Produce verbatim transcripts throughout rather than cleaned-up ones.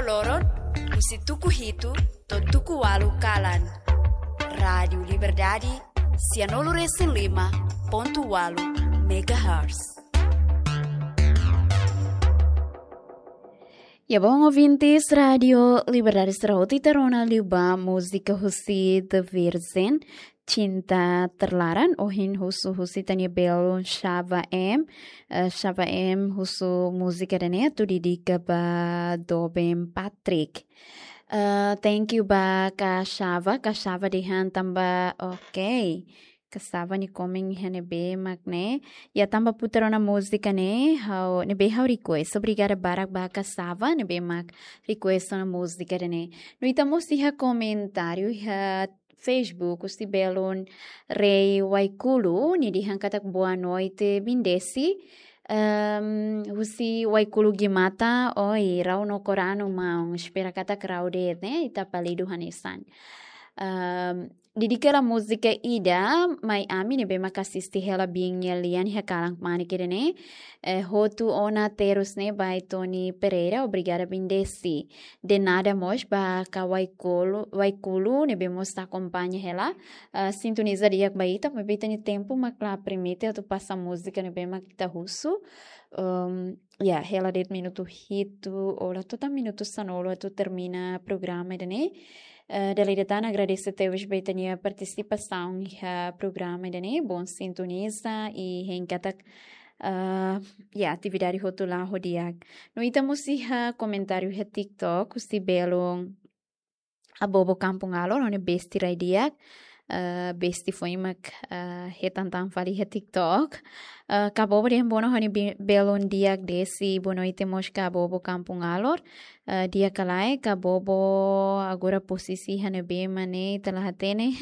Loron, husi tuku hitu to'o tuku ualu kalan. Rádiu Liberdade, sianulu resin lima pontu ualu megahertz. Ya, bom, ouvintes, Rádiu Liberdade sira hotu ita rona liu ba múzika husi The Virgin, Cinta Terlarang, ohin husu husi ita-nia belun Shava M, eh, Shava M husu múzika ida-ne'e atu dedika ba doben Patrick. Eh, thank you ba Kak Shava, Kak Shava dehan tanba, ok. Kak Shava nia komen iha ne'ebé mak ne'e. Ya, tanba putar ona múzika ne'e, ha'u, ne'ebé ha'u request. Obrigada barak ba Kak Shava, ne'ebé mak request ona múzika ida-ne'e. No ita mós iha komentáriu iha Facebook, husi belun Rei Waikulu, nia dehan katak boa noite, Bindesi. Ehm, husi Waikulu Gimata, oi, rau no koranu maun, espera katak rau de'it, ne'e, ita palidu hanesan. Ehm, dedika hela múzika ida, mai ami ne'ebé mak asiste hela biin nia lian iha kalan kmanek ida-ne'e, eh, hotu ona terus ne'e ba Tony Pereira, obrigada Bindesi. De nada mós ba Kak Waikulu, Waikulu, ne'ebé mós ita akompaña hela. Ah, sintoniza di'ak ba ita, maibé ita-nia tempu mak la permite atu pasa múzika ne'ebé mak ita husu. Ehm, ya, hela de'it minutu hitu, ou la to'o tan minutu sanulu atu termina programa ida-ne'e. Eh, dala ida tan agradese tebes ba ita-nia partisipasaun iha programa ida-ne'e, bom sintoniza i hein katak, eh, ya, atividade hotu la'o di'ak. No ita mós iha komentáriu iha TikTok, husi belun Abobo Kampung Alor, ha'u-nia besti rai di'ak. Eh, besti foin mak, eh, hetan tan fali iha TikTok. Eh, Kak Abobo dehan bono ha'u-nia bi-, belun di'ak Desi, boa noite mós Kak Abobo Kampung Alor. Eh, di'ak ka lae, Kak Abobo agora posisi iha ne'ebé mak ne'e ita la hatene.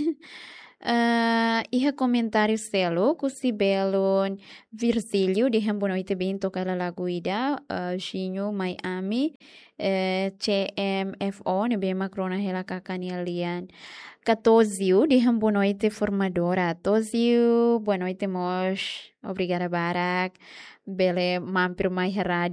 Eh, iha komentáriu seluk, husi belun Virgílio, dehan boa noite, bem, toka hela lagu ida, eh, Jinho, mai ami, eh, C M F O, ne'ebé mak rona hela Kak nia lian. Kak Tozio, dehan boa noite, formadora. Tozio, boa noite mós. Obrigada barak. Bele mampir mai iha rádiu